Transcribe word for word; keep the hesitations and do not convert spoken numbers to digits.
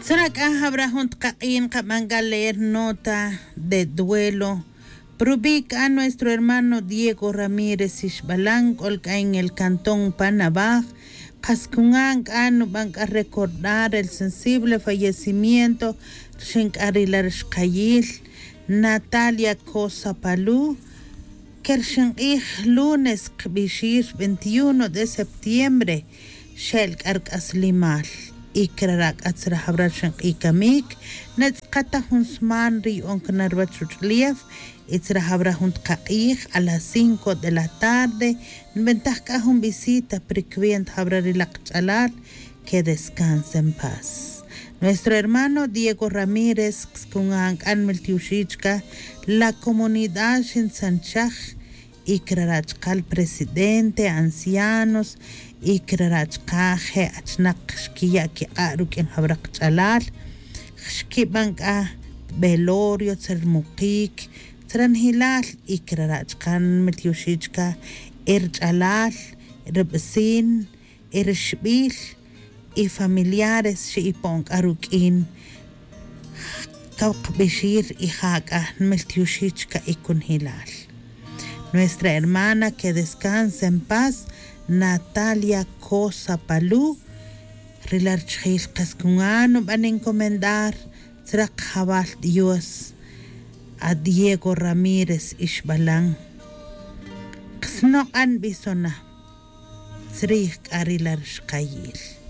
Tzra' k'a jab'ra jun tqaq'i'n qab'an k'a leer nota de duelo. Prubi' k'a nuestro hermano Diego Ramírez Ixbalan k'ol k'a en el cantón Panabaj. Qas kunan k'a nub'an k'a recordar el sensible fallecimiento rxin k'a ri la rixqayil Natalia Cosa Palú. Kerxin q'ij lunes qb'ixir veintiuno de septiembre xel k'a rk'aslimal. Y krara' k'a tzra' jab'ra rxin q'ij kamik. Netz'qa ta jun sman ri yu'on kna ruwach ruch'ulew. Y tzra' jab'ra jun tqaq'ij a las cinco de la tarde nb'entaj k'a jun visita pri cuenta jab'ra ri laq ch'alal. Que descanse en paz nuestro hermano Diego Ramírez. Skunan k'a nmiltioxij chka la comunidad xintzanchaj. Y krara' chka li presidente ancianos y krara' chka je' achnaq xkiya' kiq'a' ruk'in jab'ra qch'alal. Xkib'an k'a velorio tzra' rmuqik tzra' njilal. Y krara' chka nmiltioxij chka e rch'alal, ri b'esin, e rixb'il y familiares xe'ipon k'a ruk'in. Kaw qb'ixir y ja k'a nmiltioxij chka e kunjilal nuestra hermana que descanse en paz Natalia Cosa Palú. Ri la richijil qas kunan nub'an encomendar tzra' qajawal Dios a Diego Ramírez Ixbalan. Qsnoq'an b'isona tzrij k'a ri la rixqayil.